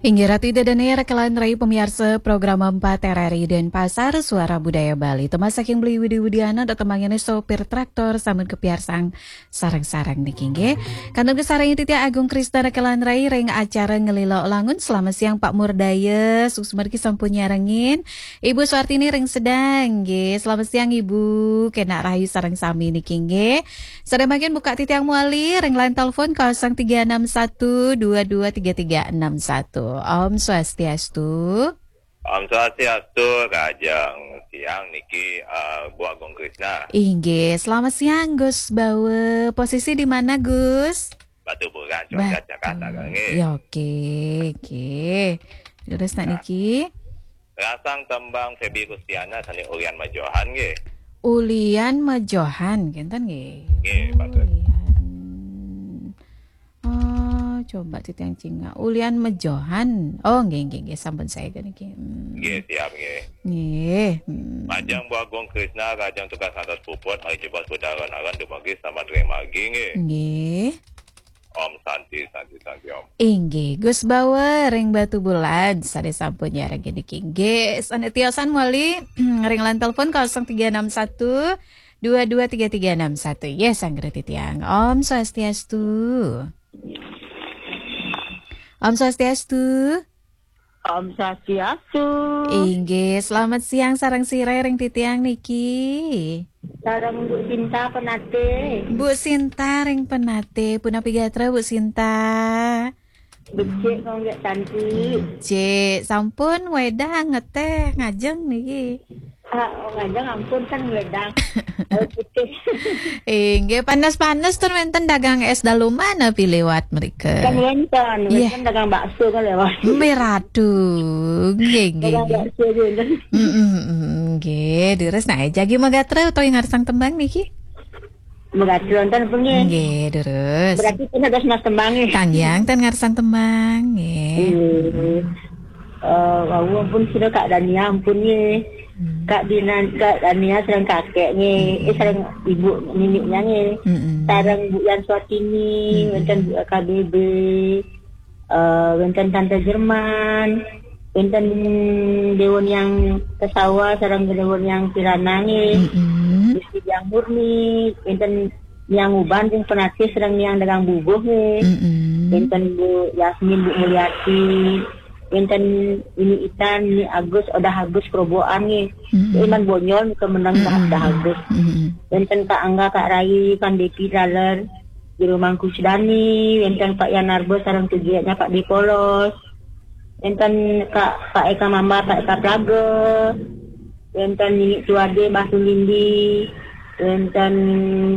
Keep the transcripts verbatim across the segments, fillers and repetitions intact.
Inggih Ratu Ida Dane, rekan-rekan rai pamiarsa program empat R R I Denpasar, Suara Budaya Bali. Tembang saking Beli Widi Widiana, da tembang ini sopir traktor, sampun kapiarsang sareng-sareng niki nggih. Kantun kasarengin titiang Agung Krisna rekan-rekan rai ring acara Ngelila Langun. Selamat siang Pak Murdaya, suksma niki sampun nyarengin. Ibu Suartini ring Sedang nggih. Selamat siang Ibu, kenak rahayu sareng sami niki nggih. Sane mangkin buka titiang malih ring line telepon kosong tiga enam satu dua dua tiga tiga enam satu. Om Swastiastu. Om Swastiastu, Kajeng. Siang niki, eh, Bu Agung Krisna. Inggih, selamat siang Gus Bawa. Posisi di mana Gus? Batubulan, Ba- Cuaca Jakarta, Hmm, nggih. Ya, oke, oke. Terus nak Nah. niki? Rasang tembang Feby Kustiana sane Ulian Majohan nggih. Ulian Majohan, kenten nggih. Nggih, patut. Ulian. Oh, coba titiang cingak. Ulian Majohan. Oh, nggih, nggih, nggih, sampun saya niki. Hmm. Nggih, siap nggih. Nggih. Hmm. Majeng Bu Agung Krisna, Kajeng tugas ngantos puput, malih jebos budal ron-ron dumugi selamat ring margi nggih. Nggih. Om Santi, Santi, Santi Om. Inggih, Gus Bawa ring Batubulan, sane sampun nyarengin niki. Nggih, sane tiosan malih ring line telepon kosong tiga enam satu dua dua tiga tiga enam satu. Yes, anggere titiang. Om Swastiastu. Om Swastiastu. Om Swastiastu. Inggih, selamat siang sareng sira ring titiang niki. Sareng Bu Sinta Penate. Bu Sinta ring Penate, punapi gatra Bu Sinta? Becik kok nggih Santi. Becik, sampun wedang ngeteh ngajeng niki. Ah, oh, ngajeng ampun kan wedang. Air putih. Inggih, panas-panas tur wenten dagang es daluman napi liwat mrika? Kan wenten, Iya. wenten dagang bakso kan lewat. Mbe ratu. Nggih, nggih, Dagang nggih. bakso aja wenten. Mm, mm, mm, nggih, leres nah jagi magatra utawi ngarsang tembang niki? Magatra wenten apa nggih? Nggih, leres. Berarti pun ada mas tembang nggih. Kang Yang ten ngarsang tembang nggih. Nggih. Eh, wau ampun sira Kak Dania ampun nggih. Hmm. Kak Dina, Kak Dania sareng kakek nggih. Hmm. Eh, sareng ibu nininya nggih. Hmm. Sareng Bu Yan Suartini, Hmm. wenten Bu K B B. Eh, wenten Tante Jerman, wenten Dewa Niang Kesawa sareng Dewa Niang Kirana nggih. Hmm. Gusti Diang Murni, wenten Niang Uban sing Penatih sareng Niang Dagang Bubuh nggih. Hmm. Wenten Bu Yasmin, Bu Mulyati, wenten Ini Itan, Ini Agus, Odah Agus Kerobokan nggih. Hmm. Iman Bonyol ke menang Hmm. Odah Agus. Hmm. Wenten Kak Angga, Kak Rai, Kang Depi Laler, Jero Mangku Sedani, wenten Pak Yan Arba sareng tugiaknya Pak Depolos. Wenten Kak, Pak Eka Mamba, Pak Eka Plaga. Wenten Nini Tuade, Mbah Tulindi. Wenten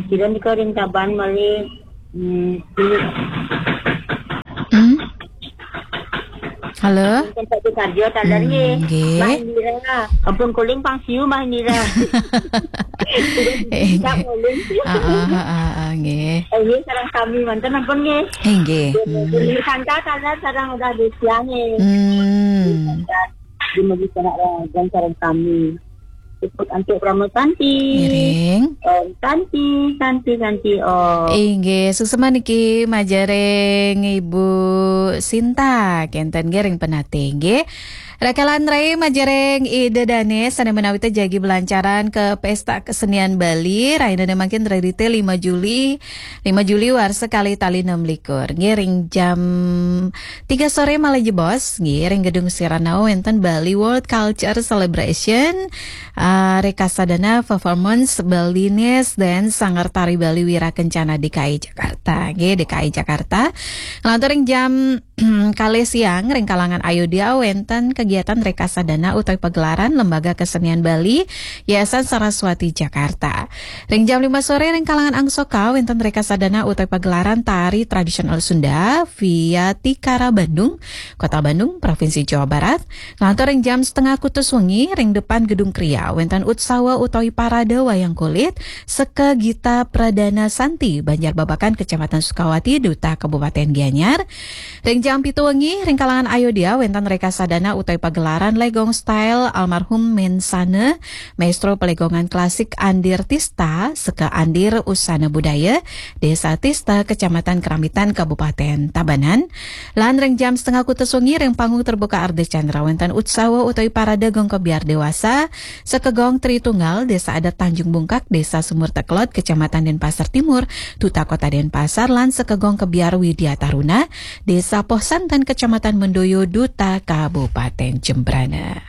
sira nika ring Taban malih, hmm, Nini. Hmm? Halo? Wenten Pak Sukarjo, taler Hmm, nggih. nggih. Mbah Indira. Ampun kuling pang siu Mbah Indira. Eh, Tidak nggih. kuling. Ah, ah, ah, ah, ah, nggih. Eh, nggih, sareng sami manten ampun nggih. Eh, nggih. Nggih, Hmm. nggih. Santa taler sareng udah disiang nggih. Hmm. Di Megi Sanak Rajan sareng sami. Cukup antuk Rama Santi. Ngiring. Om Santi, Santi, Santi, Om. Inggih, suksma niki majeng ring Ibu Sinta, kenten nggih ring Penatih nggih. Rekan-rekan rai majeng ring Ida Dane, sane menawi te jagi belancaran ke Pesta Kesenian Bali, rainane mangkin rerite lima Juli, lima Juli warsa kalih tali enam likur. Nggih, ring jam tiga sore malih jebos, nggih, ring Gedung Sirana wenten Bali World Culture Celebration, ah, Rekasadana Performance Balinese dan Sanggar Tari Bali Wira Kencana D K I Jakarta, nggih, D K I Jakarta. Nglantur ring jam kalih siang, ring kalangan Ayodya wenten kegiatan Rekasadana utawi pagelaran Lembaga Kesenian Bali, Yayasan Saraswati Jakarta. Ring jam lima sore, ring kalangan Angsoka wenten Rekasadana utawi pagelaran tari tradisional Sunda, Via Tikara Bandung, Kota Bandung, Provinsi Jawa Barat. Nglantur ring jam setengah kutus wengi, ring depan Gedung Kria wenten utsawa utawi parade wayang kulit, Seka Gita Pradana Santi, Banjar Babakan, Kecamatan Sukawati, Duta Kabupaten Gianyar. Ring jam pitu wengi, ring kalangan Ayodya wenten Rekasadana utawi pagelaran legong style almarhum Mensana, maestro pelegongan klasik Andir Tista, seka Andir Usana Budaya, Desa Tista, Kecamatan Keramitan, Kabupaten Tabanan. Lan ring jam setengah kuta sungi ring panggung terbuka Ardha Candra wenten utsawa utawi parade gong kebiar dewasa, seka gong Tritunggal, Desa Adat Tanjung Bungkak, Desa Sumur Tekelot, Kecamatan Denpasar Timur, Duta Kota Denpasar, lan seka gong kebiar Widya Taruna, Desa Poh Santan, Kecamatan Mendoyo, Duta Kabupaten Jembrana.